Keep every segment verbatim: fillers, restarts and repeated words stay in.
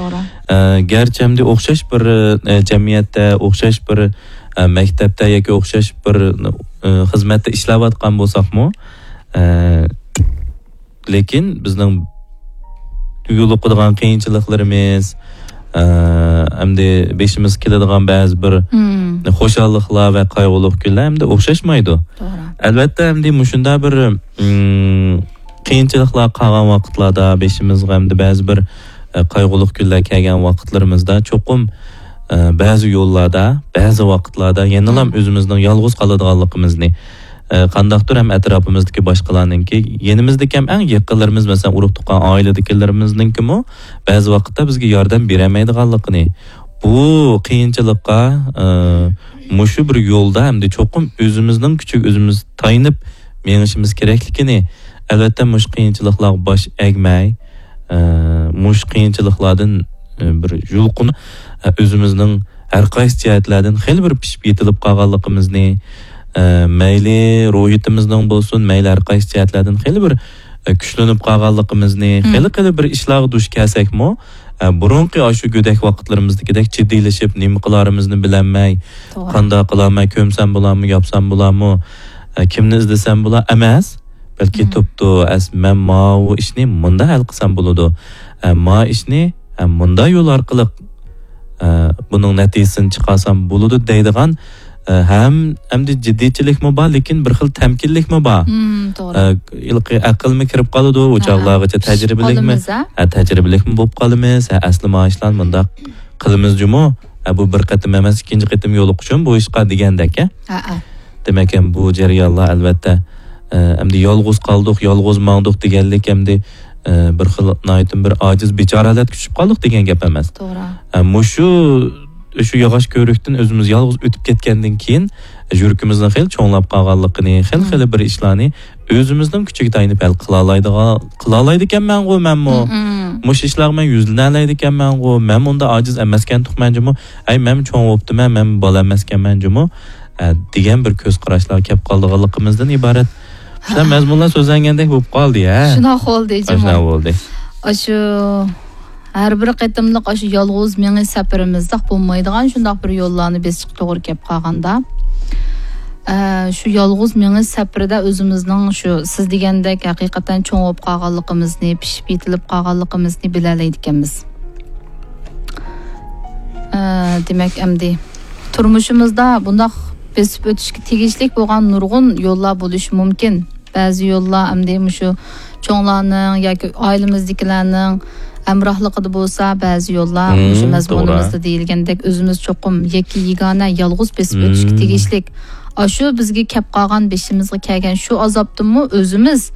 توغرا. ئە، گەرچە ئەمدى ئوخشاش بىر، ئە، جەمئىيەتتە، ئوخشاش بىر، ئە، مەكتەپتە ياكى ئوخشاش بىر، ئە، خىزمەتتە ئىشلەۋاتقان بولساقمۇ، ئە، لېكىن بىزنىڭ يولۇقىدىغان قىيىنچىلىقلىرىمىز، ئە، ئەمدى بېشىمىزغا كېلىدىغان بەزى بىر مم. خۇشاللىقلار ۋە قايغۇلۇق كۈنلەر ئەمدى ئوخشاشمايدۇ. توغرا. ئەلۋەتتە، ئەمدى مۇشۇنداق بىر، مم، قىيىنچىلىقلار قالغان ۋاقىتلاردا، بېشىمىزغا ئەمدى بەزى بىر، ئە، قايغۇلۇق كۈنلەر كەلگەن ۋاقىتلىرىمىزدا چوقۇم، ئە، بەزى يوللاردا، بەزى ۋاقىتلاردا يەنىلا مم. ئۆزىمىزنىڭ يالغۇز قالىدىغانلىقىمىزنى، ئە، قانداقتۇر ھەم ئەتراپىمىزدىكى باشقىلارنىڭكى، يېنىمىزدىكى ھەم ئەڭ يېقىنلىرىمىز، مەسىلەن، ئۇرۇق-تۇغقان، ئائىلىدىكىلىرىمىزنىڭكىمۇ بەزى ۋاقىتتا بىزگە ياردەم بېرەلمەيدىغانلىقىنى، بۇ قىيىنچىلىققا، ئە، مۇشۇ بىر يولدا ئەمدى چوقۇم ئۆزىمىزنىڭ كۈچىگە ئۆزىمىز تايىنىپ مېڭىشىمىز كېرەكلىكىنى، ئەلۋەتتە، مۇشۇ قىيىنچىلىقلارغا باش ئەگمەي، ئە، مۇشۇ قىيىنچىلىقلاردىن، ئە، بىر يۇلقۇن، ئە، ئۆزىمىزنىڭ ھەر قايسى جەھەتلەردىن خېلى بىر پىشىپ يېتىلىپ قالغانلىقىمىزنى، ئە، مەيلى روھىيىتىمىزنىڭ بولسۇن، مەيلى ھەر قايسى جەھەتلەردىن خېلى بىر، ئە، كۈچلىنىپ قالغانلىقىمىزنى، مم. خېلى، خېلى بىر ئىشلارغا دۇچ كەلسەكمۇ، ئە، بۇرۇنقى ئاشۇ گۆدەك ۋاقىتلىرىمىزدىكىدەك جىددىيلىشىپ، نېمە قىلارىمىزنى بىلەلمەي، توغرا. قانداق قىلارمەن، كۆمسەم بولارمۇ، ياپسام بولارمۇ، ئە، كىمنى ئىزدىسەم بولا ئەمەس، بەلكى مم. تۇپتۇ، ئەس-، مەن ماۋۇ ئىشنى مۇنداق ھەل قىلسام بولىدۇ، ئە، ما ئىشنى، ئە، مۇنداق يول ئارقىلىق، ئە، بۇنىڭ نەتىجىسىنى چىقارسام بولىدۇ دەيدىغان، ئە، ھەم، ئەمدى جىددىيچىلىكمۇ بار، لېكىن بىر خىل تەمكىنلىكمۇ بار. مم، توغرا. ئە، ھېلىقى ئەقىلمۇ كىرىپ قالىدۇ، ئۇ ھە، چاغلارغىچە ھە. تەجرىبىلىكمۇ، قالىمىز، ھە؟ ھە، تەجرىبىلىكمۇ بولۇپ قالىمىز، ھە، ئەسلى ما ئىشلارنى مۇنداق قىلىمىز جۇمۇ، ھە، بۇ بىر قېتىم ئەمەس، ئىككىنچى قېتىم يولۇقۇشۇم بۇ ئىشقا دېگەندەك، ھە؟ ھە، ھە. دېمەك، ھەم بۇ جەريانلار، ئەلۋەتتە، ئە، ئەمدى يالغۇز قالدۇق، يالغۇز ماڭدۇق دېگەنلىك ئەمدى، ئە، بىر خىل ناھايىتى بىر ئاجىز، بىچارە ھالەتكە چۈشۈپ قالدۇق دېگەن گەپ ئەمەس. توغرا. ئە، مۇشۇ، شۇ ياغاچ كۆۋرۈكتىن ئۆزىمىز يالغۇز ئۆتۈپ كەتكەندىن كېيىن، يۈرىكىمىزنىڭ خېلى چوڭلاپ قالغانلىقىنى، خېلى، مم. خېلى بىر ئىشلارنى ئۆزىمىزنىڭ كۈچىگە تايىنىپ ھەل قىلالايدىغان، قىلالايدىكەنمەنغۇ مەنمۇ. مم. مۇشۇ ئىشلارغا مەن يۈزلىنەلەيدىكەنمەنغۇ. مەن ئۇنداق ئاجىز ئەمەسكەن تۇقمەن جۇمۇ. ئەي، مەن چوڭ بوپتىمەن، مەن بالا ئەمەسكەنمەن جۇمۇ. ئە، دېگەن بىر كۆز قاراشلارغا كەپ قالىدىغانلىقىمىزدىن ئىبارەت. شۇنداق مەزمۇنلار سۆزلەنگەندەك بولۇپ قالدى، ھە؟ شۇنداق بولدى، جۇمۇ. شۇنداق بولدى. ئاشۇ ھەر بىر قېتىملىق ئاشۇ يالغۇز مېڭىش سەپىرىمىزدەك بولمايدىغان شۇنداق بىر يوللارنى بېسىشقا توغرا كەپ قالغاندا، ئە، شۇ يالغۇز مېڭىش سەپىرىدە ئۆزىمىزنىڭ شۇ سىز دېگەندەك ھەقىقەتەن چوڭ بولۇپ قالغانلىقىمىزنى، پىشىپ يېتىلىپ قالغانلىقىمىزنى بىلەلەيدىكەنمىز. ئە، دېمەك، ئەمدى تۇرمۇشىمىزدا بۇنداق بېسىپ ئۆتۈشكە تېگىشلىك بولغان نۇرغۇن يوللار بولۇشى مۇمكىن. بەزى يوللار ئەمدى مۇشۇ چوڭلارنىڭ ياكى ئائىلىمىزدىكىلەرنىڭ ھەمراھلىقىدا بولسا، بەزى يوللار مم، مۇشۇ مەزمۇنىمىزدا توغرا. دېيىلگەندەك ئۆزىمىز چوقۇم يەككە يېگانە يالغۇز بېسىپ مم. ئۆتۈشكە تېگىشلىك. ئاشۇ بىزگە كەپ قالغان، بېشىمىزغا كەلگەن شۇ ئازابتىنمۇ ئۆزىمىز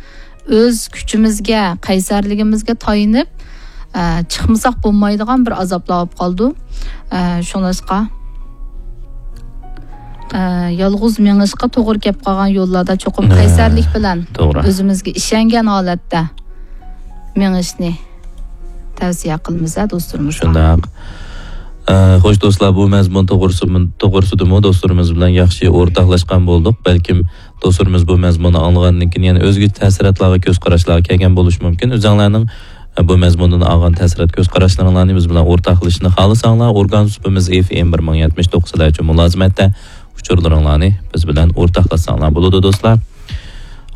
ئۆز كۈچىمىزگە، قەيسەرلىكىمىزگە تايىنىپ، ئە، چىقمىساق بولمايدىغان بىر ئازابلار بولۇپ قالىدۇ. ئە، شۇڭلاشقا، ئە، يالغۇز مېڭىشقا توغرا كەپ قالغان يوللاردا چوقۇم ئە، قەيسەرلىك بىلەن توغرا. ئۆزىمىزگە ئىشەنگەن ھالەتتە مېڭىشنى تەۋسىيە قىلىمىز، ھە، دوستلىرىمىزغا. شۇنداق. ئە، خوش دوستلار، بۇ مەزمۇن توغرىسى-، توغرىسىدىمۇ دوستلىرىمىز بىلەن ياخشى ئورتاقلاشقان بولدۇق. بەلكىم دوستلىرىمىز بۇ مەزمۇننى ئاڭلىغاندىن كېيىن يەنە ئۆزگىچە تەسىراتلارغا، كۆز قاراشلارغا كەلگەن بولۇشى مۇمكىن. ئۆزەڭلارنىڭ، ئە، بۇ مەزمۇندىن ئالغان تەسىرات، كۆز قاراشلىرىڭلارنى بىز بىلەن ئورتاقلىشىشنى خالىساڭلار، ئورگان سۇپىمىز ئېف ئېم بىر مىڭ يەتمىش توققۇز سىلەر ئۈچۈن مۇلازىمەتتە. ئۇچۇرلىرىڭلارنى بىز بىلەن ئورتاقلاشساڭلار بولىدۇ، دوستلار.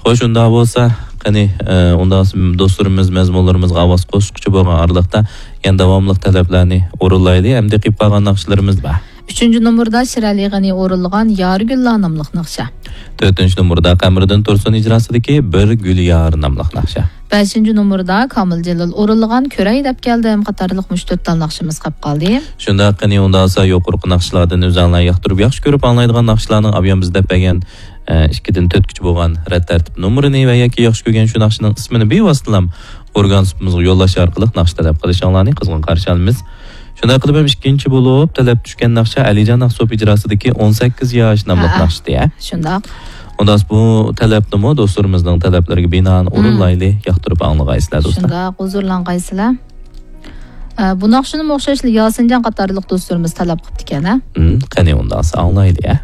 خوش، ئۇنداق بولسا، قېنى، ئە، ئۇنداق دوستلىرىمىز مەزمۇنلىرىمىزغا ئاۋاز قوشقۇچى بولغان ئارىلىقتا يەنە داۋاملىق تەلەپلەرنى ئورۇنلايلى. ئەمدى قېلىپ قالغان ناخشىلىرىمىز بار. ئۈچىنچى نومۇردا شىرئەلى غېنى ئورۇنلىغان يارى گۈللار ناملىق ناخشا. تۆتىنچى نومۇردا قەمەردىن تۇرسۇن ئىجراسىدىكى بىر گۈل يارى ناملىق ناخشا. بەشىنچى نومۇردا كامىل جېلىل ئورۇنلىغان كۆرەي دەپ كەلدىم قاتارلىق مۇشۇ تۆت تال ناخشىمىز قېلىپ قالدى. شۇنداق، قېنى ئۇنداقسا يۇقىرىقى ناخشىلاردىن ئۆزەڭلار ياقتۇرۇپ ياخشى كۆرۈپ ئاڭلايدىغان ناخشىلارنىڭ ئابىيام بىز دەپ بەرگەن، ئە، ئىككىدىن تۆتكىچە بولغان رەت تەرتىپ نومۇرىنى ۋە ياكى ياخشى كۆرگەن شۇ ناخشىنىڭ ئىسمىنى بىۋاسىتىلام ئورگان سۇپىمىزغا يوللاش ئارقىلىق ناخشا تەلەپ قىلىشىڭلارنى قىزغىن قارشى ئالىمىز. شۇنداق قىلىپ ھەم ئىككىنچى بولۇپ تەلەپ چۈشكەن ناخشا ئەلىجان ئاقسوپ ئىجراسىدىكى ئون سەككىز ياش ناملىق ھەئە. ناخشىدى، ھە؟ شۇنداق. ئۇنداقسا بۇ تەلەپنىمۇ دوستلىرىمىزنىڭ تەلەپلىرىگە بىنائەن مم. ئورۇنلايلى، ياقتۇرۇپ ئاڭلىغايسىلەر، دوستلار. شۇنداق، ھۇزۇرلانغايسىلەر. ئە، بۇ ناخشىنىمۇ ئوخشاشلا ياسىنجان قاتارلىق دوستلىرىمىز تەلەپ قىپتىكەن، ھە؟ مم، قېنى ئۇنداقسا ئاڭلايلى، ھە؟